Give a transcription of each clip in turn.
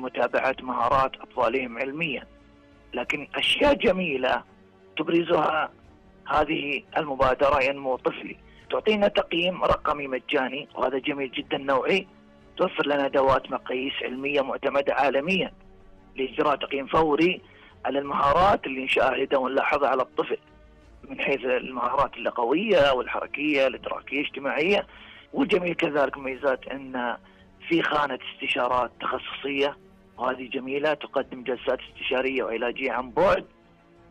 متابعة مهارات أطفالهم علميا. لكن أشياء جميلة تبرزها هذه المبادرة ينمو طفلي، تعطينا تقييم رقمي مجاني، وهذا جميل جدا نوعي. توفر لنا أدوات مقاييس علمية معتمدة عالميا لإجراء تقييم فوري على المهارات اللي نشاهدها ونلاحظها على الطفل، من حيث المهارات اللغوية والحركية الإدراكية الاجتماعية. والجميل كذلك ميزات أن في خانة استشارات تخصصية، وهذه جميلة، تقدم جلسات استشارية وعلاجية عن بعد،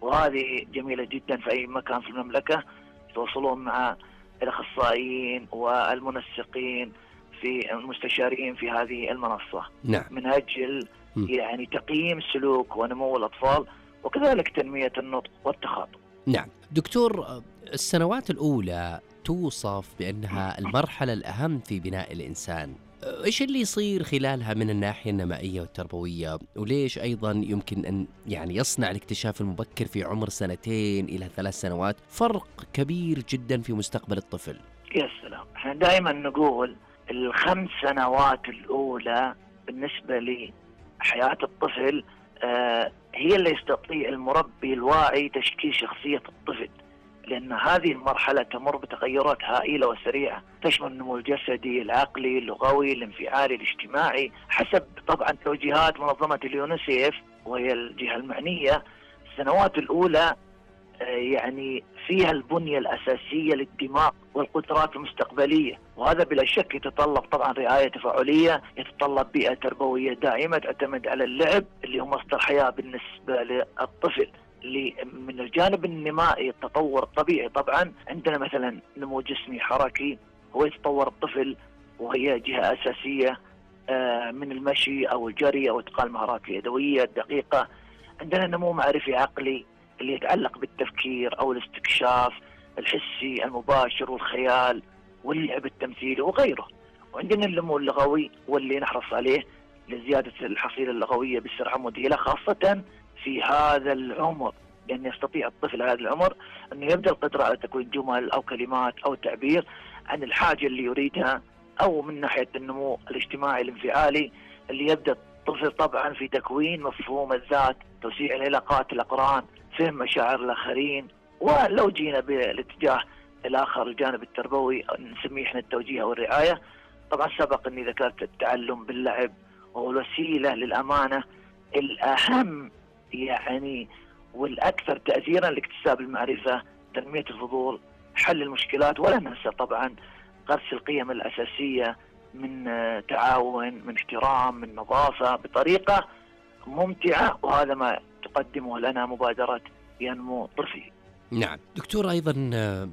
وهذه جميلة جدا في أي مكان في المملكة يتواصلون مع الأخصائيين والمنسقين في المستشارين في هذه المنصة. نعم. من أجل يعني تقييم سلوك ونمو الأطفال، وكذلك تنمية النطق والتخاطب. نعم دكتور، السنوات الأولى توصف بأنها المرحلة الأهم في بناء الإنسان، إيش اللي يصير خلالها من الناحية النمائية والتربوية؟ وليش أيضا يمكن أن يعني يصنع الاكتشاف المبكر في عمر 2 إلى 3 سنوات فرق كبير جدا في مستقبل الطفل؟ يا سلام، احنا دائما نقول 5 سنوات الأولى بالنسبة لحياة الطفل هي اللي يستطيع المربي الواعي تشكيل شخصية الطفل، لأن هذه المرحلة تمر بتغيرات هائلة وسريعة تشمل النمو الجسدي، العقلي، اللغوي، الانفعالي، الاجتماعي، حسب طبعا توجيهات منظمة اليونيسيف وهي الجهة المعنية. السنوات الأولى يعني فيها البنية الأساسية للدماغ والقدرات المستقبلية، وهذا بلا شك يتطلب طبعا رعاية تفاعلية، يتطلب بيئة تربوية دائمة تعتمد على اللعب اللي هو مصدر حياة بالنسبة للطفل. من الجانب النمائي التطور الطبيعي طبعا عندنا مثلا نمو جسمي حركي، هو يتطور الطفل وهي جهة أساسية من المشي أو الجري أو إتقان المهارات اليدوية الدقيقة. عندنا نمو معرفي عقلي اللي يتعلق بالتفكير أو الاستكشاف الحسي المباشر والخيال واللعب التمثيلي وغيره. وعندنا النمو اللغوي واللي نحرص عليه لزيادة الحصيلة اللغوية بسرعة مذهلة، خاصة في هذا العمر، لأن يستطيع الطفل هذا العمر أنه يبدأ القدرة على تكوين جمل أو كلمات أو تعبير عن الحاجة اللي يريدها. أو من ناحية النمو الاجتماعي الانفعالي اللي يبدأ الطفل طبعا في تكوين مفهوم الذات، توسيع العلاقات الأقران، فهم مشاعر الآخرين. ولو جينا بالاتجاه الآخر الجانب التربوي نسميه احنا التوجيه والرعاية، طبعا سبق أني ذكرت التعلم باللعب وهو الوسيلة للأمانة الأهم يعني والأكثر تأثيرا لاكتساب المعرفة، تنمية الفضول، حل المشكلات، ولا ننسى طبعا غرس القيم الأساسية من تعاون، من احترام، من نظافة، بطريقة ممتعة. وهذا ما تقدمه لنا مبادرة ينمو طفلي. نعم دكتور، أيضا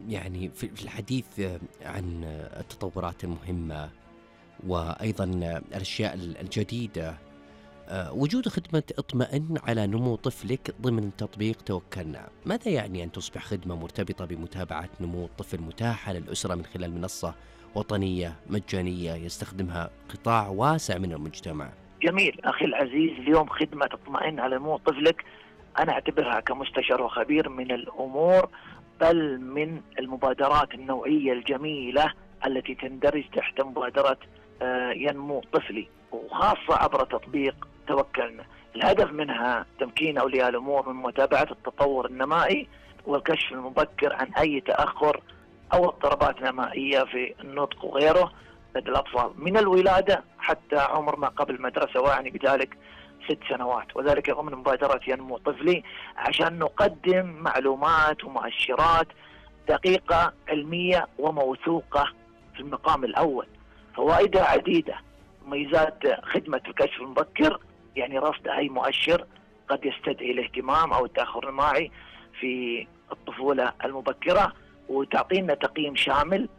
يعني في الحديث عن التطورات المهمة وأيضا الأشياء الجديدة، وجود خدمة اطمئن على نمو طفلك ضمن تطبيق توكلنا، ماذا يعني أن تصبح خدمة مرتبطة بمتابعة نمو الطفل متاحة للأسرة من خلال منصة وطنية مجانية يستخدمها قطاع واسع من المجتمع؟ جميل أخي العزيز، اليوم خدمة اطمئن على نمو طفلك أنا أعتبرها كمستشار وخبير من الأمور، بل من المبادرات النوعية الجميلة التي تندرج تحت مبادرة ينمو طفلي، وخاصة عبر تطبيق توكلنا. الهدف منها تمكين أولياء الأمور من متابعة التطور النمائي والكشف المبكر عن أي تأخر أو اضطرابات نمائية في النطق وغيره لدى الأطفال من الولادة حتى عمر ما قبل المدرسة، ويعني بذلك 6 سنوات، وذلك ضمن مبادرة ينمو طفلي عشان نقدم معلومات ومؤشرات دقيقة علمية وموثوقة في المقام الأول. فوائدها عديدة. ميزات خدمة الكشف المبكر يعني رصد أي مؤشر قد يستدعي الاهتمام أو التأخر الماعي في الطفولة المبكرة، وتعطينا تقييم شامل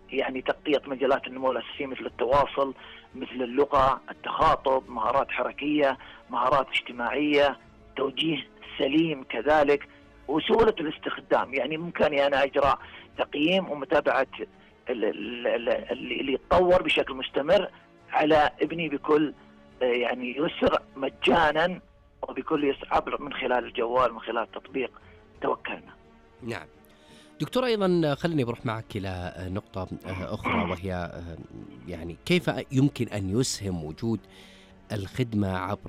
يعني تغطية مجالات النمو الأساسية مثل التواصل، مثل اللغة، التخاطب، مهارات حركية، مهارات اجتماعية، توجيه سليم كذلك، وسهولة الاستخدام. يعني ممكن أنا أجرى تقييم ومتابعة اللي يتطور بشكل مستمر على ابني بكل يعني يسر مجانا وبكل يسر عبر من خلال الجوال، من خلال تطبيق توكلنا. نعم دكتور، أيضا خليني بروح معك إلى نقطة أخرى، وهي يعني كيف يمكن أن يسهم وجود الخدمة عبر